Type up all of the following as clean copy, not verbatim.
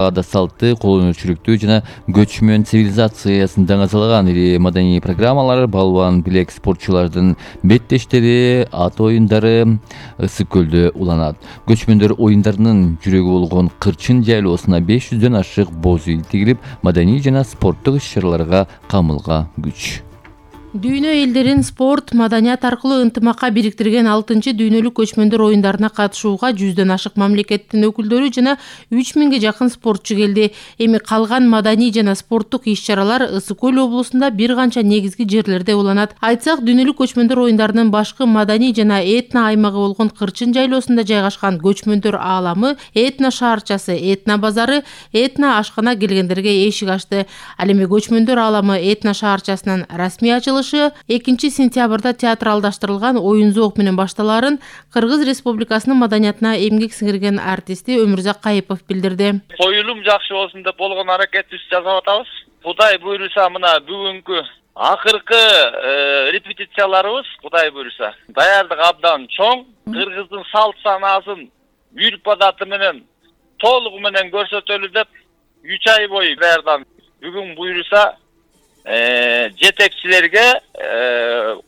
ада салты, кол өнөрчүлүктү жана көчмөн цивилизациясын даңазалаган ири маданий программалар балбан билек спортчулардын беттештери ат оюндары Ысык көлдө уланат. Көчмөндөр оюндарынын жүрөгү болгон Кырчын жайлоосуна 500дөн ашык боз үй тигилип, маданий жана спорттук иш-чараларга камылга күч. Дүйнө элдерин спорт, маданият аркылуу ынтымакка бириктирген 6-чы дүйнөлүк көчмөндөр оюндарына катышууга 100дөн ашык мамлекеттин өкүлдөрү жана 3000ге жакын спортчу келди. Эми калган маданий жана спорттук иш-чаралар Ысык көл облусунда бир канча негизги жерлерде уланат. Айтсак, дүйнөлүк көчмөндөр оюндарынын башкы маданий жана этно аймагы болгон Кырчын жайлоосунда жайгашкан көчмөндөр ааламы, этно шаарчасы, этно базары, этно ашкана келгендерге эшик ачты. Ал эми көчмөндөр ааламы этно шаарчасынын расмий ачылышы 2-сентябрда театралдаштырылган оюн зоок менен башталарын Кыргыз Республикасынын маданиятына эмгек сиңирген артисти Өмүрзак Кайыпов билдирди. Коюлум жакшы болсун деп болгон аракетибизди жасап атабыз. Кудай буйруса мына бүгүнкү акыркы репетицияларыбыз Кудай буйруса даярдык абдан чоң. Кыргыздын салт санаасын үрп адаты менен толугу менен көрсөтөлү деп 3 ай бою даярдан. Бүгүн буйруса жетекчилерге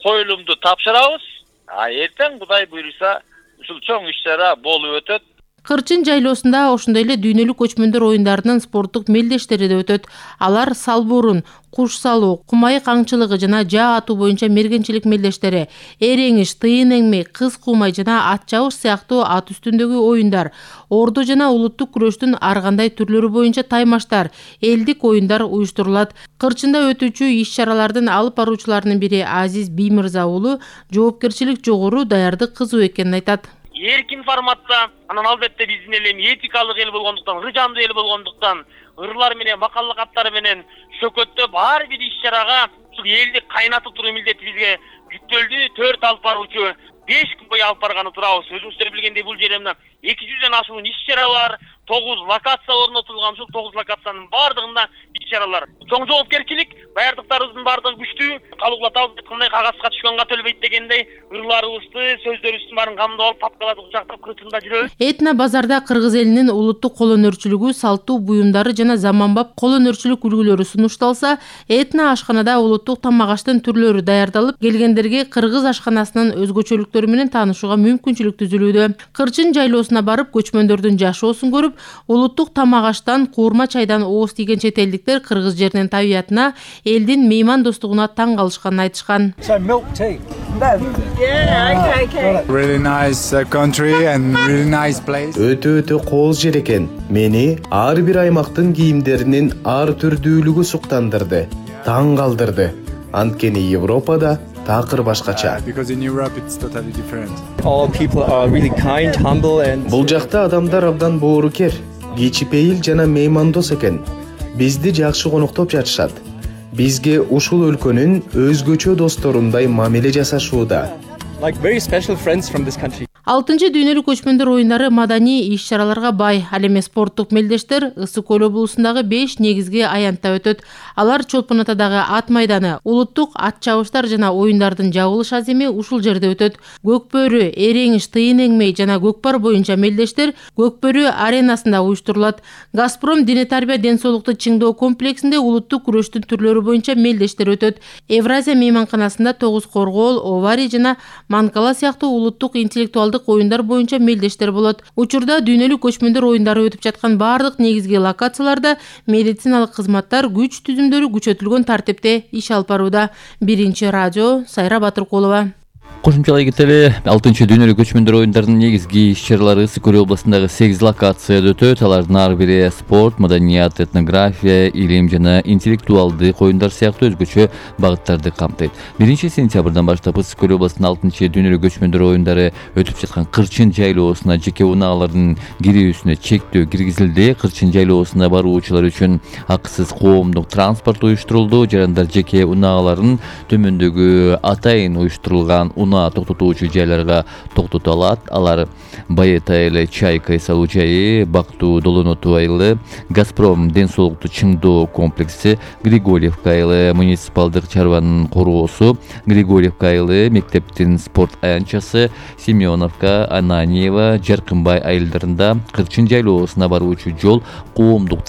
коюлумду тапшырабыз. Эртең Кудай буйруса ушул чоң иш-чара болуп өтөт. Кырчын жайлоосунда ошондой эле дүйнөлүк көчмөндөр оюндарынын спорттук мелдештери да өтөт. Алар салбурун, куш салуу, кумайык аңчылыгы жана жаа атуу боюнча мергенчилик мелдештери, эреңиш, тыйын эңмей, кыз кумай жана ат чабыш сыяктуу ат үстүндөгү оюндар, ордо жана улуттук күрөштүн ар кандай түрлөрү боюнча таймаштар, элдик оюндар уюштурулат. Кырчында өтүүчү иш-чаралардын алып баруучуларынын бири Азиз Биймырза уулу жоопкерчилик жогору, даярдык кызуу экенин айтат. Эркин форматта, анан албетте биздин эл этикалык эл болгондуктан, ыржандуу эл болгондуктан, ырлар менен, макаллык аттар менен шөкөттөп ар бир иш-чарага ушул элди кайнатып туруу милдети бизге жүктөлдү. 4 алып баруучу 5 күн бою алып барганы турабыз. Өзүңүздөр билгендей бул жерде мына 200дөн ашуун иш-чара бар, 9 локация орнотулган. Ушул 9 локациянын бардыгында иш-чаралар. Чоң жоопкерчилик, даярдыктарыбыздын бардыгы күчтүү. Калыгулатабыз айткандай кагазга түшкөн кат өлбөйт дегендей, ырларыбызды, сөздөрүбүздүн баарын камдап алып, папкаларды кучактап Кырчында жүрөбүз. Этно базарда Кыргыз элинин улуттук кол өнөрчүлүгү, салттуу буюмдары жана заманбап кол өнөрчүлүк үлгүлөрү сунушталса, этно ашканада улуттук тамак аштын түрлөрү даярдалып, келгендерге Кыргыз ашканасынын өзгөчөлүктөрү менен таанышууга мүмкүнчүлүк түзүлүүдө. Кырчын жайлоосуна барып, көчмөндөрдүн жашоосун көрүп, улуттук тамак аштан, куурма чайдан ооз тийген чет элдиктер кыргыз жеринин табиятына, элдин меймандостугуна таң калышканын айтышкан. Really nice country and really nice place. Өтө кооз жер экен. Мени ар бир аймактын кийимдеринин ар түрдүүлүгү суктандырды, таң калдырды. Анткени Европада такыр башкача. Because in Europe it's totally different. All people are really kind, humble and Бул жакта адамдар абдан боорукер, кичипейил жана меймандос экен. Бизди жакшы коноктоп жатышат. Бизге ушул өлкөнүн өзгөчө досторундай мамиле жасашууда. like very special friends from this country. 6-чы дүйнөлүк көчмөндөр оюндары маданий иш-чараларга бай. Ал эми спорттук мелдештер Ысык көл облусундагы 5 негизги аянтта өтөт. Алар Чолпон атадагы ат майданы, улуттук ат чабыштар жана оюндардын жабылыш аземи ушул жерде өтөт. Көкбөрү, эреңиш, тыйын эңмей жана көкпар боюнча мелдештер Көкбөрү аренасында уюштурулат. Газпром дене тарбия ден соолукту чыңдоо комплексинде улуттук күрөштүн түрлөрү боюнча мелдештер өтөт. Евразия мейманканасында тогуз коргоол, овари жана манкала сыяктуу улуттук интеллектуалдык оюндар боюнча мелдештер болот. Учурда дүйнөлүк көчмөндөр оюндары өтүп жаткан бардык негизги локацияларда медициналык кызматтар күч түзүмдөрү күчөтүлгөн тартипте иш алып барууда. Биринчи радио Сайра Батыркулова. Кошумчалай кетели 6-чы дүйнөлүк көчмөндөр оюндарынын негизги иш-чаралары Ысык көл областындагы 8 локацияда өтөт. Алардын ар бири спорт, маданият, этнография, илим жана интеллектуалдык оюндар сыяктуу өзгөчө багыттарды камтыйт. 1-сентябрдан баштап Ысык көл областынын 6-чы дүйнөлүк көчмөндөр оюндары өтүп жаткан Кырчын жайлоосуна жеке унаалардын кирүүсүнө чектөө киргизилди. Кырчын жайлоосуна баруучулар үчүн акысыз коомдук транспорт уюштурулду. Жарандар жеке унааларын төмөндөгү атайын уюштурулган унаа токтотуучу жайларга токтото алат. Алар Байета айылы, Чайка салуу жайы, Бактуу Долоноту айылы, Газпром ден соолукту чыңдоо комплекси, Григорьевка айылы муниципалдык чарбанын короосу, Григорьевка айылы мектептин спорт аянтчасы, Семеновка, Ананьева, Жаркынбай айылдарында Кырчын жайлоосуна баруучу жол коомдук